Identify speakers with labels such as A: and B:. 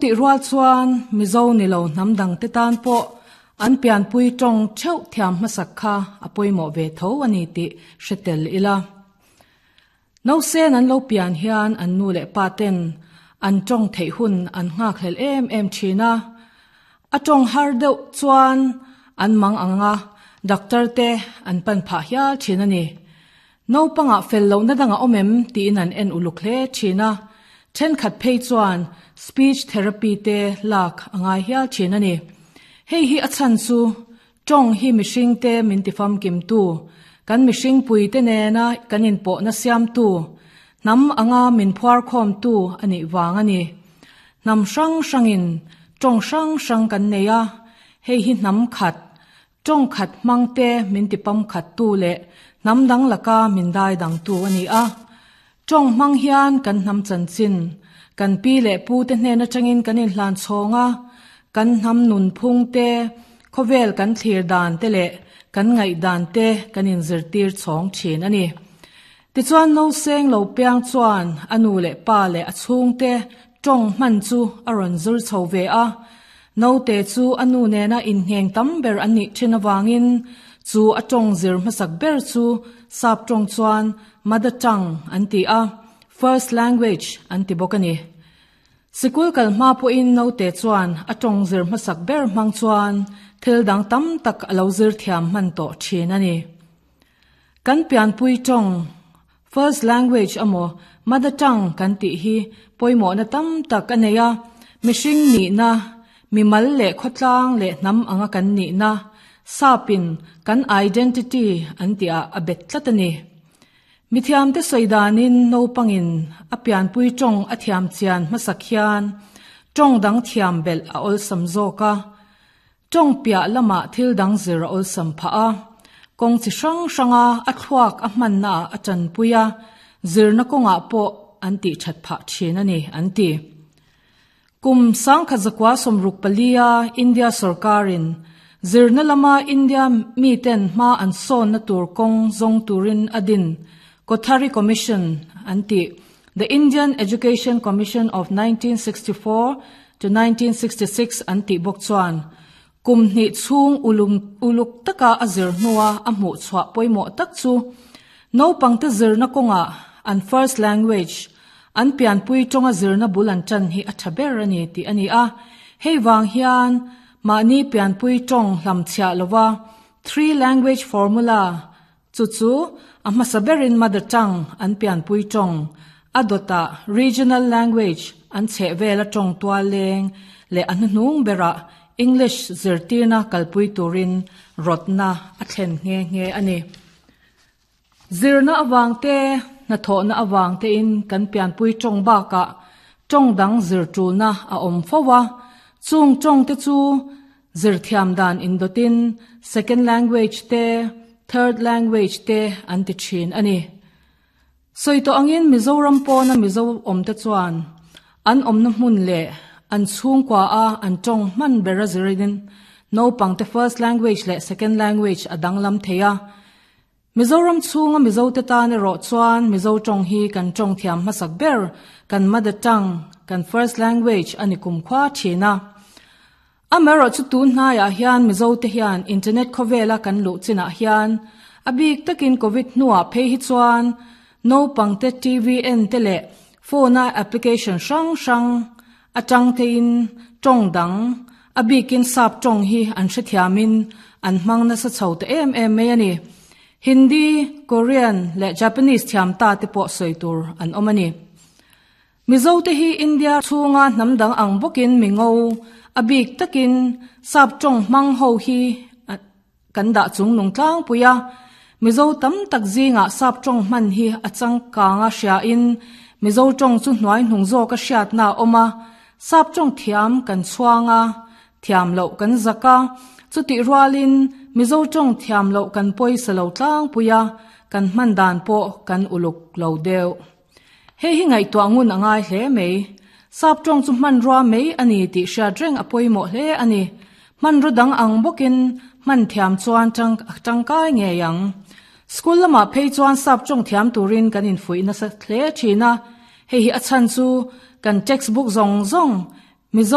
A: Tih rual chuan Mizo ni lo hnam dangte tan pawh an pianpui tawng theuh thiam hmasak kha a pawimawh ve tho a ni tih hre tel ila. Nausen an lo pian hian an nu leh pa ten an tawng theih hun an nghakhlel em em thin a. A tawng har deuh chuan an mang ang a, doctor te an pan phah hial thin a ni. Naupangah fel lohna dang a awm em tiin an en uluk hle thin a, thenkhat phei chuan speech therapy te lak a ngai hial thin a ni. Hei hi a chhan chu tawng hi mihringte min tifamkimtu, kan mihringpuite nena kan inpawhna siamtu, hnam anga min phuarkhawmtu a nih vang a ni. Hnam hrang hrangin tawng hrang hrang kan nei a, hei hi hnam khat, Tawng khat hmangte min ti pamkhattu leh hnam dang laka min dai dangtu a ni a. Tawng hmang hian kan hnam chanchin, kan pi leh pute hnen atangin kan inhlan chhawng a, kan hnam nunphung te, khawvel kan thlir dan te leh kan ngaihdan te kan inzirtir chhawng thin a ni. Tichuan nauseng lo piang chuan a nu leh pa leh a chhungte tawng hman chu a rawn zir chho ve a. Naute chu a nu nena inngheng tam ber an nih thin avangin chu a tawng zir hmasak ber chu sap tawng chuan mother tongue an ti a, first language an ti bawk a ni. Sikul kal hma pawhin naute chuan a tawng zir hmasak ber hmang chuan thil dang tam tak a lo zir thiam hman tawh thin a ni. Kan pianpui tawng, first language emaw mother tongue kan tih hi pawimawhna tam tak a nei a, mihring nihna, mimal leh khawtlang leh hnam anga kan nihna, sapin kan identity an tihah a bet tlat a ni. Mithiamte sawi danin naupangin a pianpui tawng a thiam chian hmasak hian tawng dang thiam belh a awlsam zawk a. Tawng piah lamah thil dang zir a awlsam phah a, kawng chi hrang hranga a thluak a hmannaah a tanpui a, zirna kawngah pawh an tih that phah thin a ni, an ti. Kum 1964 a India sorkarin zirna lama India miten hma an sawnna tur kawng zawng turin a din Kothari Commission an tih, The Indian Education Commission of 1964 to 1966 an tih bawk chuan kum hnih chhung uluk taka a zir hnua a hmuh chhuah pawimawh tak chu naupangte zirna kawngah an first language, an pianpui tawnga zirna bul an tan hi a tha ber a ni tih a ni a. Hei vang hian mahni pianpui tawng hlamchhiah lova three language formula, Chu chu a hmasa berin mother tongue an pianpui tawng, a dawtah regional language an chheh vela tawng tual leng leh a hnuhnung berah English zirtirna kalpui turin rawtna a thlen nghe nghe a ni. Zirna avang te, hnathawhna avang tein kan pianpui tawng bakah tawng dang zir tulna a awm fo a, chung tawng te chu Zirthiam dan indawtin second language te, third language te an ti thin a ni. Sawi tawh angin Mizoram pawna Mizo awmte chuan an awmna hmun leh an chhungkua a an tawng hman ber a zirin naupangte first language leh second language a danglam thei a. Mizoram chhunga Mizote tan erawh chuan Mizo tawng hi kan tawng thiam hmasak ber, kan mother tongue, kan first language a ni kumkhua thin a. Amaherawh chu tun hnaiah hian Mizote hian internet khawvela kan luh chinah hian a bik takin Covid hnuah phei hi chuan naupangte TV en te leh phone-a application hrang hrang atang tein tawng dang, a bikin sap tawng hi an hrethiamin an hmang nasa chho ta em em mai a ni. Hindi, Korean leh Japanese thiam ta te pawh sawi tur an awm a ni. Mizote hi India chhunga hnam dang ang bawkin mi ngo, a bik takin sap tawng hmang ho hi kan dah chung nung tlangpui a. Mizo tam tak zingah sap tawng hman hi a changkanga hriain Mizo tawng chu hnuai hnung zawka hriatna a awm a, sap tawng thiam kan chhuang a, thiam loh kan zak a, chutih rualin Mizo tawng thiam loh kan pawisa lo tlangpui a, kan hman dan pawh kan uluk lo deuh. Hei hi ngaihtuah ngun a ngai hle mai. Sap tawng chu hmanrua mai a ni tih hriat reng a pawimawh hle a ni. Hmanraw dang ang bawkin hman thiam chuan tangkai ngei ang. School lamah phei chuan sap tawng thiam turin kan infuih nasa hle thin a. Hei hi a chhan chu kan textbook zawng zawng.